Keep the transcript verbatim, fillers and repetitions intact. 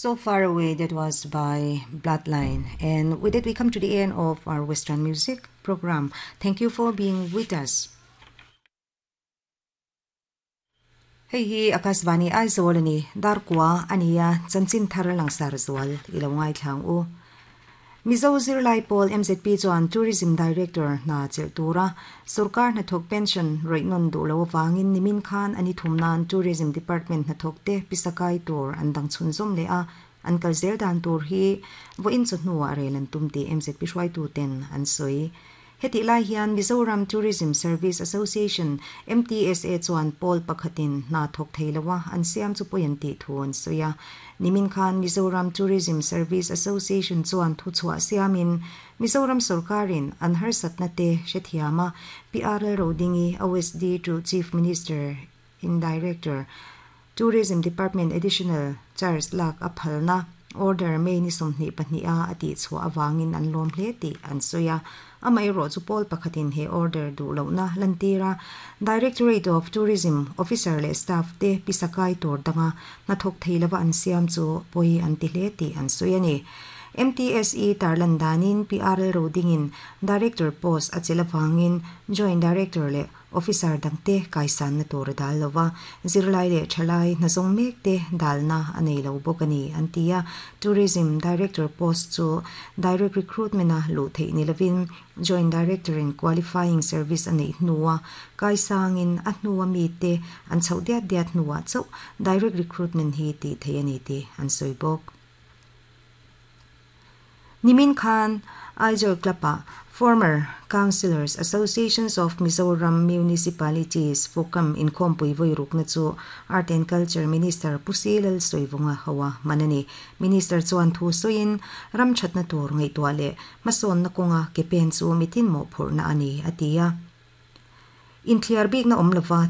So Far Away, that was by Bloodline. And with it, we come to the end of our Western music program. Thank you for being with us. Hei hi Akashvani Aizawl ani darkua ania chanchin thar langsar zual ilo ngai thlang u. Mizo Zirlai Pawl M Z P chuan Tourism Director hna chelh tura sorkar hnathawk pension rawih nawn duh lo avangin nimin khan ani thum nan Tourism Department hnathawk te pisakai tur an dang chhunzawm leh a, an kal zel dan tur hi vawiin chawhnuah rel an tum tih M Z P hruaitu ten an sawi. Hetih lai hian Mizoram Tourism Service Association, M T S A, chuan pawl pakhatin hna thawk thei loa an siam chu pawi an tih thu an sawi a. Nimin khan Mizoram Tourism Service Association chuan thuchhuah siamin Mizoram sorkarin an harsatna te hrethiam a, P R L Rodingi, O S D to Chief Minister in Director, Tourism Department Additional Charge lak a phalna order May ni sawmhnih pahnih a a tihchhuah avangin an lawm hle tih an sawi a. Amaherawh chu pawl pakhatin he order duh lohna lantir a, Directorate of Tourism officer leh staff te pisakai tur danga hnathawk thei lova an siam chu pawi an ti hle tih an sawi a ni. M T S E tarlan danin P R L Rodingin Director post a chelh avangin Joint Director leh Officer dangte kaisanna tur a dal lova, zirlai leh thalai hnazawng mek te dalna a nei lo bawk a ni an ti a. Tourism Director post chu direct recruitment a luh theih ni lovin Joint Director in qualifying service a neih hnua kaisangin a hnua mi te an chhoh diat diat hnuah chauh direct recruitment hi tih theih a ni tih an sawi bawk. Nimin khan Aizawl Club-ah Former Councillors Associations of Mizoram Municipalities Focam inkhawmpui vawi rukna chu Art and Culture Minister Pu C Lalsawivunga hoa hman a ni. Minister chuan thu sawiin ram thatna tur ngaihtuah leh hmasawnna kawnga ke pen chu mitin mawhphurhna a ni a ti a. Inthliar bikna awm lova